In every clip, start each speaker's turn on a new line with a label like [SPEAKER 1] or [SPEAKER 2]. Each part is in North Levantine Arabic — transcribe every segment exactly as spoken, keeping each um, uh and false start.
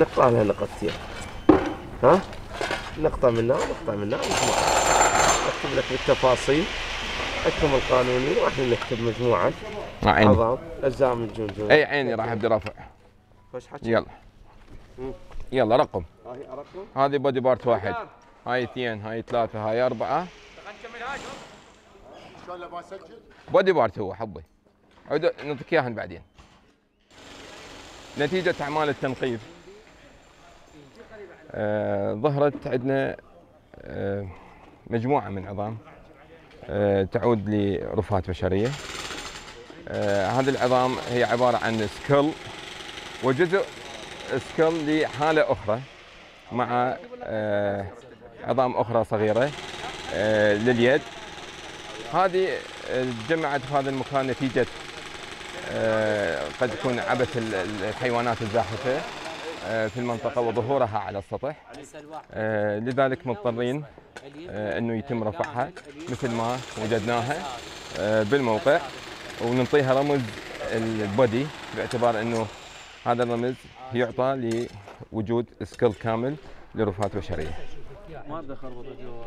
[SPEAKER 1] نقطع لها نقطتين، ها نقطة منها ونقطة منها مجموعة. أكتب لك بالتفاصيل، أكتب القانوني واحنا نكتب مجموعة عظام أجزاء من الجمجمة.
[SPEAKER 2] أي عيني راح أبدي رفع.
[SPEAKER 1] خوش حكي.
[SPEAKER 2] يلا مم. يلا رقم.
[SPEAKER 1] هاي أرقم.
[SPEAKER 2] هذه بودي بارت واحد، هاي اثنين، هاي ثلاثة، هاي أربعة.
[SPEAKER 3] شلون ابغى اسجل؟
[SPEAKER 2] بودي بارت هو حبي. عود نعطيك إياهن بعدين. نتيجة أعمال التنقيب آه ظهرت عندنا آه مجموعة من عظام آه تعود لرفات بشرية. آه هذه العظام هي عبارة عن سكل وجزء سكل لحالة أخرى مع آه عظام أخرى صغيرة آه لليد. هذه تجمعت في هذا المكان نتيجة آه قد يكون عبث الحيوانات الزاحفة آه في المنطقة وظهورها على السطح، آه لذلك مضطرين آه انه يتم رفعها مثل ما وجدناها آه بالموقع، وننطيها رمز البودي باعتبار انه هذا الرمز يعطى لوجود سكيل كامل لرفات بشرية.
[SPEAKER 4] ما بدي اخربط جوا.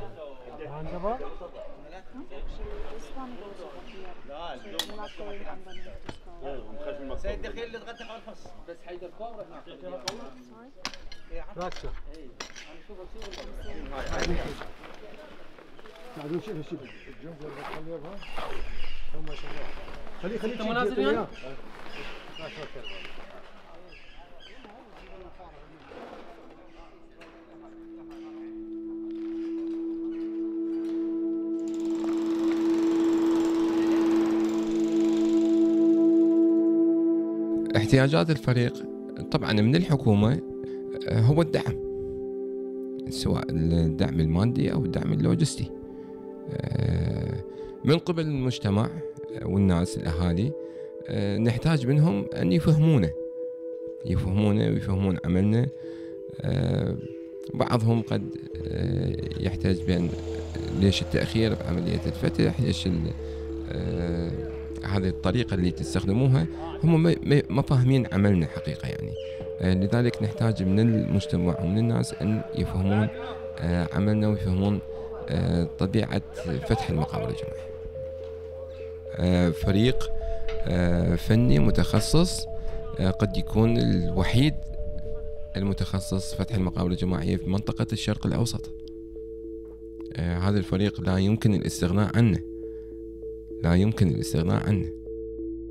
[SPEAKER 3] سيد دخيل اللي تغدى على الفص بس حيدر كوره هناك
[SPEAKER 4] راكشه
[SPEAKER 5] بعدين شوف شوف الجنب اللي بتخليها ما شاء الله. خليه خليه
[SPEAKER 4] انت مناظر يعني؟
[SPEAKER 6] احتياجات الفريق طبعا من الحكومة هو الدعم، سواء الدعم المادي أو الدعم اللوجستي. من قبل المجتمع والناس الأهالي نحتاج منهم أن يفهمونا يفهمونا ويفهمون عملنا. بعضهم قد يحتاج بأن ليش التأخير بعملية الفتح، ليش هذه الطريقة اللي تستخدموها، هم ما فاهمين عملنا حقيقة يعني. لذلك نحتاج من المجتمع ومن الناس أن يفهمون عملنا ويفهمون طبيعة فتح المقابر الجماعية. فريق فني متخصص قد يكون الوحيد المتخصص فتح المقابر الجماعية في منطقة الشرق الأوسط. هذا الفريق لا يمكن الاستغناء عنه لا يمكن الاستغناء عنه